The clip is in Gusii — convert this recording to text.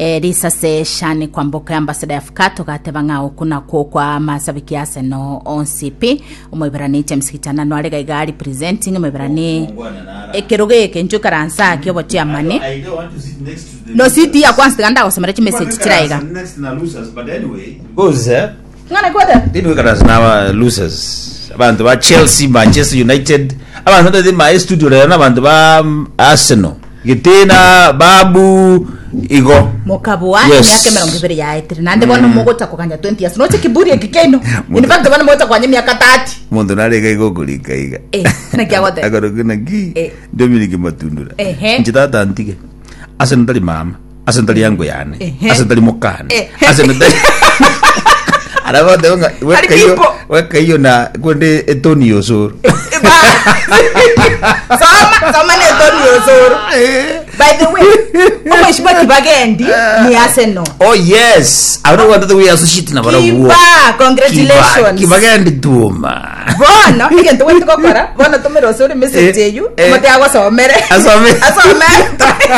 Eh, risase Shani Kwamboka ambassador ya Fukato gateba ng'a oku nakwo kwa masabiki ya Arsenal onsi pi omoiberani James Gichana no are gaiga representing omoiberani ekerogo eke inche ikaransa ake obochiamani no siti ya kwanza tiga ndagosomera chimessage chiraiga Because eh, ng'ana kwete Dini wikaransa na losers abantu ba Chelsea Manchester United abantu batete ma studio rero n'abantu ba mm, Arsenal Getena babu igo mokabua Yes. emiaka emerongo ebere yaetire naende bono mogocha koganya 20 years noche kiburi eki kiaino in fact bono mogocha koganya emiaka 30 Omonto narenge iga okorika iga Eh, naki agoteba? Akoroka naki Eh. Dominic Matundura Ehe. inche tata ntige ase ntari mama ase ntari yango yane Ehe. ase ntari mokane Ehe. ase ntari araboteba ng'a Ari weka iyo people. weka iyo na kwende etoni yosoro soma soma ne Tony Osoro by the way omweshima kibagendi ni Arsenal Oh yes, I don't want to we associate na barabwo. Kiba, congratulations. Kibagendi tuoma. bono egento gwete gokora bono tomere osore message Eh, eyu eh. omote agosomere Asome. asome.